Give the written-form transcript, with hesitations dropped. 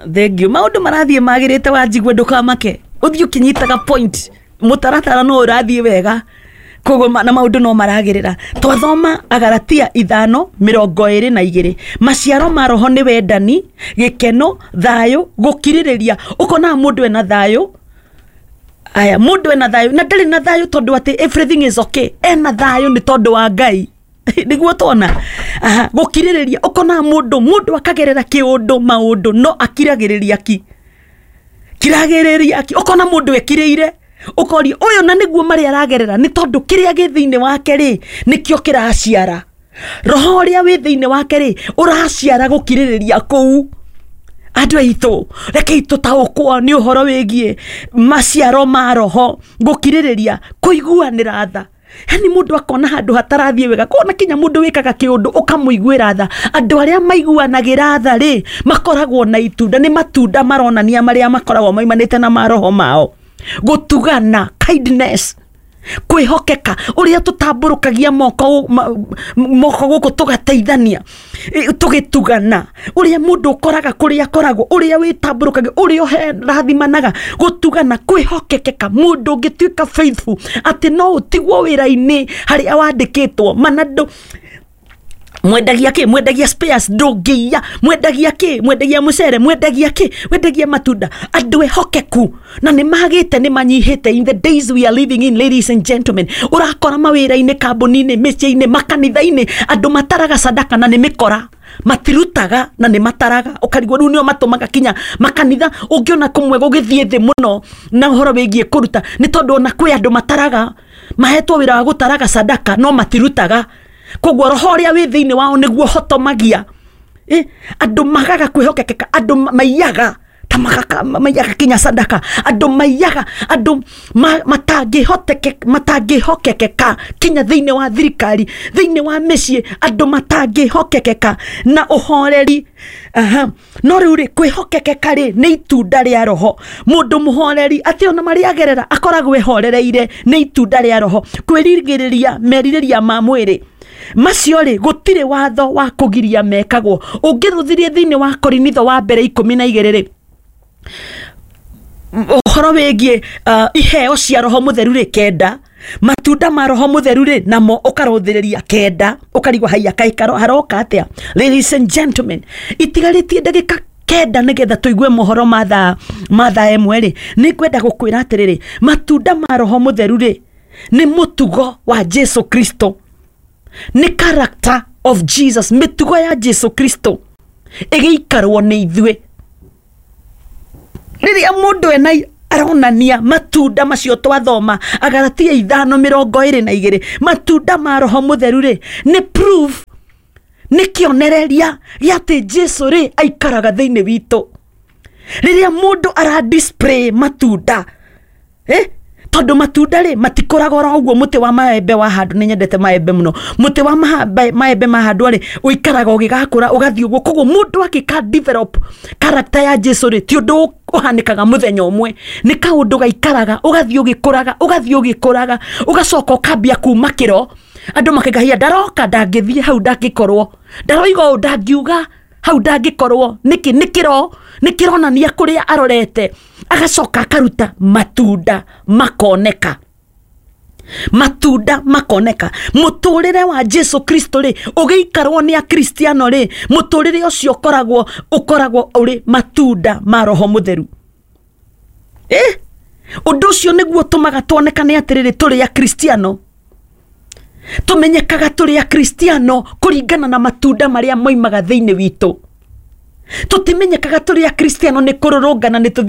Thank you. Maũndũ marathiĩ magĩrĩte. Wanjigua, ndũkamake, ũthiĩ ũkĩnyitaga point. Mũtaratara no ũrathiĩ wega, koguo na maũndũ no maragĩrĩra. Twathoma Agaratia 5:22, maciaro ma Roho nĩ wendani, gĩkeno, thayũ, gũkirĩrĩria. Ũkonaga mũndũ ena thayũ. Aya, mũndũ ena thayũ na ndarĩ na thayũ tondũ atĩ everything is okay. Ena thayũ nĩ tondũ wa Ngai, nĩguo tuona. Aha, gũkirĩrĩria, ũkonaga mũndũ akagerera kĩũndũ maũndũ no akiragĩrĩria, ki kiragĩrĩria ki. Ũkona mũndũ ekirĩire, ũkoria ũyũ na nĩguo marĩa aragerera nĩ tondũ kĩrĩa gĩ thĩinĩ wake rĩ, nĩkĩo kĩraciara. Roho ũrĩa wĩ thĩinĩ wake rĩ, ũraciara gũkirĩrĩria kũu. Andũ aitũ, rekei tũtaũkwo nĩ ũhoro wĩgiĩ maciaro ma Roho: gũkirĩrĩria, kũiguanĩra tha. Yani mũndũ akona handũ hatarathiĩ wega, kona kinya mũndũ wĩkaga kĩũndũ ũkamũiguĩra tha. Andũ arĩa maiguanagĩra tha rĩ, makoragwo na itunda, nĩ matunda maronania marĩa makoragwo maimanĩte na maroho mao. Gũtugana, kindness, kwĩhokeka, ũrĩa tũtambũrũkagia moko moko gũkũ tũgateithania, tũgĩtugana, ũrĩa mũndũ ũkoraga kũrĩa akoragwo, ũrĩa wĩtambũrũkagia, ũrĩa ũrathimanaga, gũtugana, kwĩhokekeka. Mũndũ ũngĩtuĩka faithful atĩ no ũtigwo wĩra-inĩ harĩa wandĩkĩtwo mana ndũ mwendagia kä, mwendagia spares, ndũngĩiya, mwendagia kä, mwendagia mũcere, mwendagia kä, mwendagia matunda. Andũ ehokeku na nĩ magĩte, nĩ manyihĩte in the days we are living in. Ladies and gentlemen, ũrakora mawĩra-inĩ, kambuni-inĩ, mĩciĩ-inĩ, makanitha-inĩ, andũ mataraga sadaka na nĩ mĩkora, matirutaga na nĩ mataraga. Ũkarigwo rĩu nĩo matũmaga kinya makanitha. Ũngĩona kũmwe gũgĩthiĩ thĩ mũno na ũhoro wĩgiĩ kũruta nĩ tondũ ona kwĩ andũ mataraga, mahetwo wĩra wa gũtaraga sadaka no matirutaga. Koguo roho ũrĩa wĩ thĩinĩ wao nĩguo hotomagia. Andũ magaga kwĩhokekeka, andũ maiyaga ta maiyaga kinya sadaka, andũ maiyaga, andũ matangĩhokekeka kinya thĩinĩ wa thirikari, thĩinĩ wa mĩciĩ, andũ matangĩhokekeka na ũhoreri. Aha. No rĩu rĩ, kwĩhokekeka rĩ, nĩ itunda rĩa Roho. Mũndũ mũhoreri atĩ ona marĩa agerera akoragwo ehorereire, nĩ itunda rĩa Roho. Kwĩrigĩrĩria merirĩria ma mwĩrĩ, macio rĩ, gũtirĩ watho wa kũgiria mekagwo. Ũngĩthuthirie thĩinĩ wa Korinitho wa mbere 12 rĩ, ũhoro wĩgiĩ iheo cia Roho Mũtheru rĩ, 9, matunda ma Roho Mũtheru rĩ, namo ũkarũthĩrĩria 9, ũkarigwo haiya kaĩ haroka atĩa. Ladies and gentlemen, itigarĩtie ndagĩka 9 nĩgetha tũigue mohoro ma thaa 1 rĩ, nĩ ngwenda gũkwĩra atĩrĩrĩ, matunda ma Roho Mũtheru rĩ, nĩ mũtugo wa Jesu Kristo, nĩ character of Jesus. Mĩtugo ya Jesu Kristo ĩgĩikarwo nĩ ithuĩ. Rĩrĩa mũndũ ena aronania matunda macio twathoma Agaratia 5:22, matunda ma Roho Mũtheru rĩ, nĩ proof, nĩ kĩonereria gĩa atĩ Jesu rĩ, aikaraga thĩinĩ witũ. Rĩrĩa mũndũ ara display matunda, tondũ matunda rĩ, matikũraga oro ũguo. Mũtĩ wa maembe wa handũ, nĩ nyendete maembe mũno, mũtĩ wa maembe mahandwo rĩ, ũikaraga ũgĩgakũra, ũgathiĩ ũguo. Koguo mũndũ akĩka develop character ya Jesu rĩ, ti ũndũ ũhanĩkaga mũthenya ũmwe, nĩ kaũndũ gaikaraga, ũgathiĩ ũgĩkũraga, ũgathiĩ ũgĩkũraga, ũgacoka ũkambia kuma kĩro. Andũ makĩgahia, ndaroka, ndangĩthiĩ hau, ndangĩkorwo ndaroiga ũũ, ndangiuga hau, ndangĩkorwo nĩkĩ. Nĩ kĩro, nĩ kĩronania kũrĩa arorete. Agacoka akaruta matunda, makoneka, matunda makoneka. Mũtũrĩre wa Jesu Kristo rĩ, ũgĩikarwo nĩ Akristiano rĩ, mũtũrĩre ũcio ũkoragwo ũrĩ matunda ma Roho Mũtheru. Ũndũ ũcio nĩguo ũtũmaga tuonekane atĩrĩrĩ, tũrĩ Akristiano. Tũmenyekaga tũrĩ Akristiano kũringana na matunda marĩa moimaga thĩinĩ witũ. Tũtimenyekaga tũrĩ Akristiano nĩ kũrũrũngana nĩ tũthiĩ.